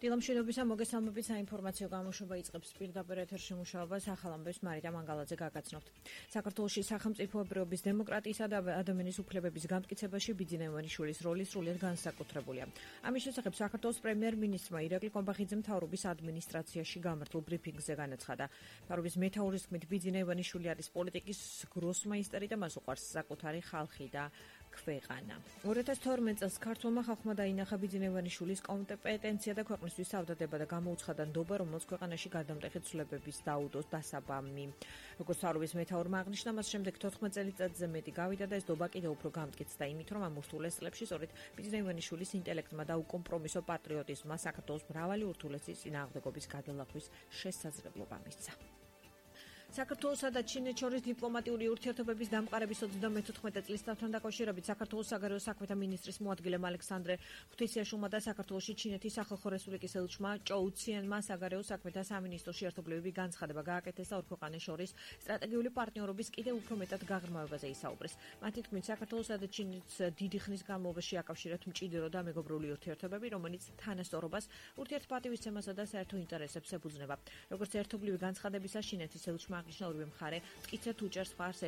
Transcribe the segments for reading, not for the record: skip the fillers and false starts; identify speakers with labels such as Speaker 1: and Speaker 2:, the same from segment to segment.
Speaker 1: დილამშვიდობისა მოგესალმებით საინფორმაციო გამოშვება იწყებს პირდაპირ ეთერში მუშაობას ახალ ამბებს მარიდა მანგალაძე გაგაცნობთ. საქართველოში სახელმწიფოებრიობის დემოკრატიისა და ადამიანის უფლებების გამტკიცებაში ბიძინევანიშვილის როლი სრულიად განსაკუთრებულია. ამის შესახებ საქართველოს პრემიერ-მინისტრმა ირაკლი კომბახიძე მთავრობის ადმინისტრაციაში გამართულ ბრიფინგზე განაცხადა. მთავრობის მეთაურის თქმით, ბიძინევანიშვილი არის პოლიტიკის გროსმაისტერი და მას უყვარს საკუთარი ხალხი და ქვეყანა. 2012 წელს ქართულმა ხალხმა დაინახა ბიძინევანიშვილის კომპეტენცია და ქვეყნისთვის ავდადება და გამოუცხადა ნდობა, რომელსაც ქვეყანაში გადამტეხი ცვლილებების დაუდოს დასაბამი. როგორც მთავრობის მეთაურმა აღნიშნა, მას შემდეგ 14 წელიწადზე მეტი გავიდა და ეს ნდობა კიდევ უფრო გამტკიცდა იმით, რომ ამ ურთულეს წლებში სწორედ ბიძინევანიშვილის ინტელექტმა და უკომპრომისო პატრიოტიზმმა საქართველოს მრავალი ურთულესის წინააღმდეგობის გადალახვის შესაძლებლობა მისცა. საქართველოსა და ჩინეთს შორის დიპლომატიური ურთიერთობების დამყარების 34 წლის დავთან დაკავშირებით საქართველოს საგარეო საქმეთა მინისტრის მოადგილემ ალექსანდრე ღვთისიაშვილმა და საქართველოში ჩინეთის სახალხო რესპუბლიკის ელჩმა ჭოუ ციანმა საგარეო საქმეთა სამინისტროში ერთობლივი განცხადება გააკეთეს და ორ ქვეყანას შორის სტრატეგიული პარტნიორობის კიდევ უფრო მეტად გაღრმავებაზე ისაუბრეს. მათი თქმით, საქართველოსა და ჩინეთს დიდი ხნის განმავლობაში აკავშირებთ მჭიდრო და მეგობრული ურთიერთობები, რომელიც თანასწორობას, ურთიერთპატივისცემასა და საერთო ინტერესებს ეფუძნება. როგორც ერთობლივი განცხადებისა, ჩინეთის ელჩმა აღნიშნა, ორივე მხარე მტკიცედ უჭერს მხარს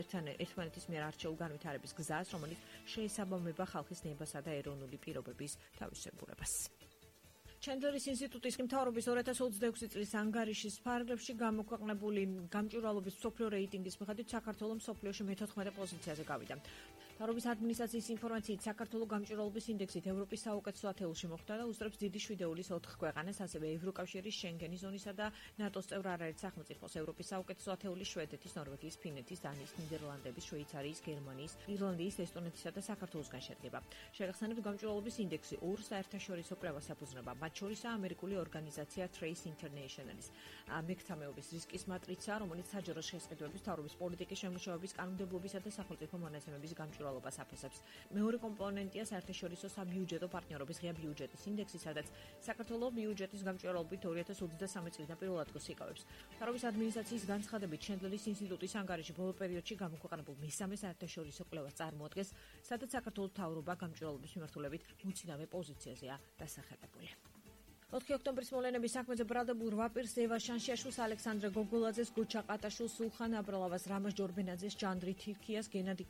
Speaker 1: ერთმანეთის მიერ არჩეულ განვითარების გზას, რომელიც შეესაბამება ხალხის ნებასა და ეროვნული პირობების თავისებურებას. ჩენდლერის ინსტიტუტის მთავრობის 2026 წლის ანგარიშის ფარგლებში გამოქვეყნებული გამჭვირვალობის მსოფლიო რეიტინგის მიხედვით საქართველოს მსოფლიოში მე-14 პოზიციაზე გავიდა. მთავრობის ადმინისტრაციის ინფორმაციით, საქართველოს გამჭვირვალობის ინდექსით ევროპის საუკეთესო ათეულში მოხვდა და უსწრებს დიდი შვიდეულის 4 ქვეყანას, ასევე ევროკავშირის, შენგენის ზონისა და ნატოს წევრ არაერთ სახელმწიფოს, ევროპის საუკეთესო ათეულის შვედეთის, ნორვეგიის, ფინეთის, დანიის, ნიდერლანდების, შვეიცარიის, გერმანიის, ირლანდიის, ესტონეთისა და საქართველოსგან შედგება. შეგახსენებთ, გამჭვირვალობის ინდექსი ორ საერთაშორისო კვლევას ეფუძნება, მათ შორისაა ამერიკული ორგანიზაცია Trace International-ის მექტამეობის რისკის მატრიცა, რომელიც საჯარო შესყიდვების, მთავრობის პოლიტიკის შემუშავების, კანონმდებლობისა და სახელმწიფო მონაცემების გამჭვირვალობას აფასებს. მეორე კომპონენტია საერთაშორისო საბიუჯეტო პარტნიორობის ღია ბიუჯეტის ინდექსი, სადაც საქართველოს ბიუჯეტის გამჭვირვალობით 2023 წლიდან პირველ ადგილს იკავებს. მთავრობის ადმინისტრაციის განცხადებით, ჩენდლერის ინსტიტუტის ანგარიში ბოლო პერიოდში გამოქვეყნებულ მესამე საერთაშორისო კვლევას წარმოადგენს, სადაც საქართველოს მთავრობა გამჭვირვალობის მიმართულებით მოცინავე პოზიციაზეა დასახელებული. 4 ოქტომბრის მოვლენების საქმეზე ბრალდებულ 8 პირს ევა შანშიაშვილს, ალექსანდრე გოგოლაძეს, გუჩა ყატაშვილს, სულხან აბრალავას, რამაზ ჯორბენაძეს, ჭანდრი თირქიას, გენადი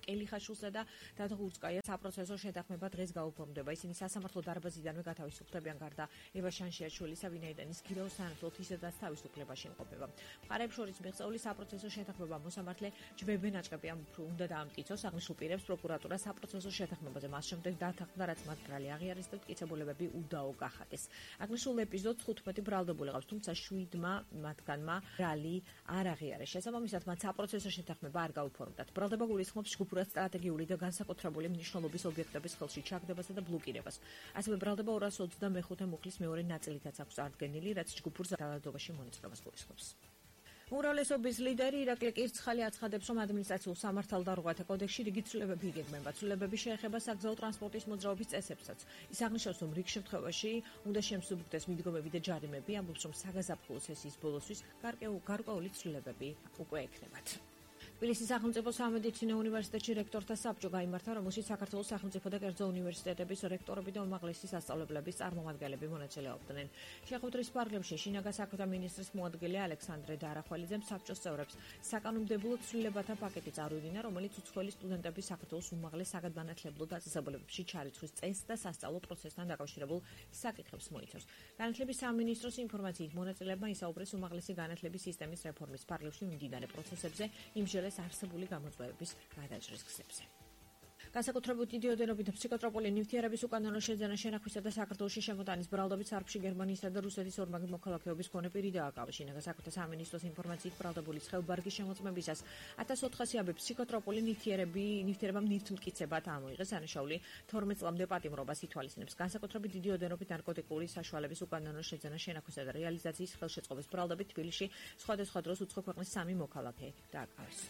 Speaker 1: კელიხაშვილსა და დათო გურწკაიას საპროცესო შეთანხმება დღეს გაუფორმდება. ისინი სასამართლო დარბაზიდანვე გათავისუფლებიან, გარდა ევა შანშიაშვილისა, ვინაიდან ის გირაოს სანაცვლოდ ისედაც თავისუფლებაში იმყოფება. მხარეებს შორის მიღწეული საპროცესო შეთანხმება მოსამართლე ჯბებენ აჭყებიან უნდა დაამტკიცოს. აღნიშნულ პირებს პროკურატურა საპროცესო შეთანხმებაზე მას შემდეგ დათანხმდა, რაც მათ ბრალი აღიარეს და მტკიცებულებები უდაო გახადეს. აღნიშნულ ეპიზოდს 15 ბრალდებული ყავს, თუმცა 7-მა მათგანმა ბრალი არ აღიარეს. შესაბამისად, მათ საპროცესო შეთანხმება არ გაუფორმდათ. ბრალდება გულისხმობს ჯგუფურად სტრატეგიული და განსაკუთრებული მნიშვნელობის ობიექტების ხელში ჩაგდებასა და ბლოკირებას. ასევე ბრალდება 225 მუხლის მეორე ნაწილითაც აქვს წარდგენილი, რაც ჯგუფურ ძალადობაში მონაწილეობას გულისხმობს. უმრავლესობის ლიდერი ირაკლი კირცხალი აცხადებს, რომ ადმინისტრაციულ სამართალდარღვევათა კოდექსში რიგი ცვლილებები იგეგმება. ცვლილებები შეეხება საგზაო ტრანსპორტის მოძრაობის წესებსაც. ის აღნიშნავს, რომ რიგ შემთხვევაში უნდა შემსუბუქდეს მიდგომები და ჯარიმები, ამბობს, რომ საგაზაფხულო სესიის ბოლოსთვის გარკვეული ცვლილებები უკვე ექნებათ. თბილისის სახელმწიფო სამედიცინო უნივერსიტეტში რექტორთა საბჭო გაიმართა, რომელშიც საქართველოს სახელმწიფო და კერძო უნივერსიტეტების რექტორები და უმაღლესი სასწავლებლების წარმომადგენლები მონაწილეობდნენ. შეხვედრის ფარგლებში შინაგან საქმეთა მინისტრის მოადგილე ალექსანდრე დარახველიძემ საბჭოს წევრებს საკანონმდებლო ცვლილებათა პაკეტი წარუდგინა, რომელიც უცხოელი სტუდენტების საქართველოს უმაღლეს საგანმანათლებლო დაწესებულებებში ჩარიცხვის წესს და სასწავლო პროცესთან დაკავშირებულ საკითხებს მოიცავს. განათლების სამინისტროს ინფორმაციით, მონაწილეებმა ისაუბრეს უმაღლესი განათლების სისტემის რეფორმის ფარგლებში მიმდინარე პროცესებზე, იმჟელეს არსებული გამოწვევების გადაჭრის გზებზე. განსაკუთრებით დიდი ოდენობით ფსიქოტროპული ნივთიერების უკანონო შეძენა შენახვისა და საქართველოში შემოტანის ბრალდებით სარფში გერმანიისა და რუსეთის ორმაგი მოქალაქეობის მქონე პირი დააკავა. შინაგან საქმეთა სამინისტროს ინფორმაციით, ბრალდებული ცხელბარგის შემოწმებისას 1400 აბე ფსიქოტროპული ნივთიერებამ ნივთმტკიცებად ამოიღეს. ანაშაული 12 წლამდე პატიმრობას ითვალისწინებს. განსაკუთრებით დიდი ოდენობით ნარკოტიკული საშუალების უკანონო შეძენა შენახვისა და რეალიზაციის ხელშეწყობის ბრალდებით თბილისში სხვადასხვა დროს უცხო ქვეყნის 3 მოქალაქე დააკავეს.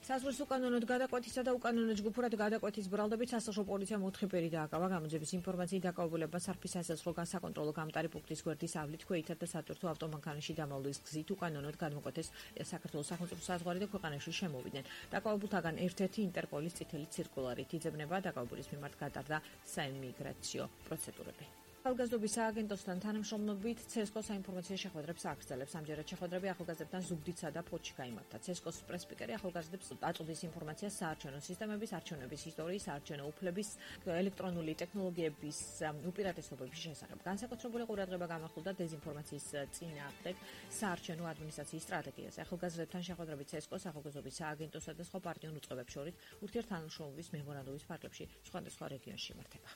Speaker 1: საზღვრის უკანონოდ გადაკვეთისა და უკანონო ჯგუფურად გადაკვეთის ბრალდებით სასახლო პოლიციამ 4 პირი დააკავა. გამოძიების ინფორმაციით დაკავებულება სარფის სასახლო საკონტროლო გამტარი პუნქტის გვერდის ავლით ქვეითად და სატვირთო ავტომანქანაში დამალულის გზით უკანონოდ გადმოკვეთეს საქართველოს სახელმწიფო საზღვარი და ქვეყანაში შემოვიდნენ. დაკავებულთაგან ერთ-ერთი ინტერპოლის წითელი ცირკულარით იძებნება დაკავებულის მიმართ გატარდა საიმიგრაციო პროცედურები. ახალგაზრდობის სააგენტოსთან თანამშრომლობით CSKO საინფორმაციო შეხვედრებს აგრძელებს. ამჯერად შეხვედრები ახალგაზრდებთან ზუგდიდსა და ფოთში გაიმართა. CSKO-ს პრესპიკერი ახალგაზრდებს აწვდის ინფორმაციას საარჩევნო სისტემების, არჩევნების ისტორიის, არჩევნო უფლების, ელექტრონული ტექნოლოგიების უპირატესობების შესახებ. განსაკუთრებული ყურადღება გამახვილდა დეზინფორმაციის წინააღმდეგ საარჩევნო ადმინისტრაციის სტრატეგიაზე. ახალგაზრდებთან შეხვედრები CSKO-ს ახალგაზრდობის სააგენტოსა და სხვა პარტიულ უწყებებს შორის ურთიერთთანამშრომლობის მემორანდუმის ფარგლებში სხვადასხვა რეგიონში იმართება.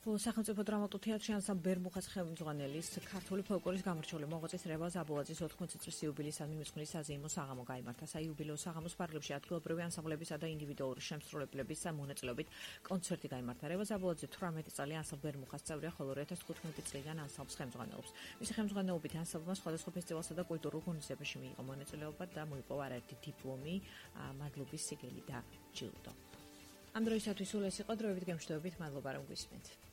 Speaker 1: სახელმწიფო დრამატულ თეატრში ანსამბლ ბერმუხას ხელმძღვანელის ქართული ფოლკლორის გამორჩეული მოღვაწის რევაზ აბულაძის 80 წლის იუბილეისადმი მიძღვნილი საზეიმო საღამო გაიმართა. საიუბილეო საღამოს ფარგლებში ადგილობრივი ანსამბლებისა და ინდივიდუალური შემსრულებლების მონაწილეობით კონცერტი გაიმართა. რევაზ აბულაძე 18 წელი ანსამბლ ბერმუხას წევრია, ხოლო 2015 წლიდან ანსამბლს ხელმძღვანელობს. მისი ხელმძღვანელობით ანსამბლმა სხვადასხვა ფესტივალსა და კულტურულ ღონისძიებაში მიიღო მონაწილეობა და მოიპოვა არაერთი დიპლომი, მადლობის სიგელი და ჯილდო. ამ დროისათვის სულ ეს იყო დროებით გემშვიდობით, მადლობა რომ გვისმენთ.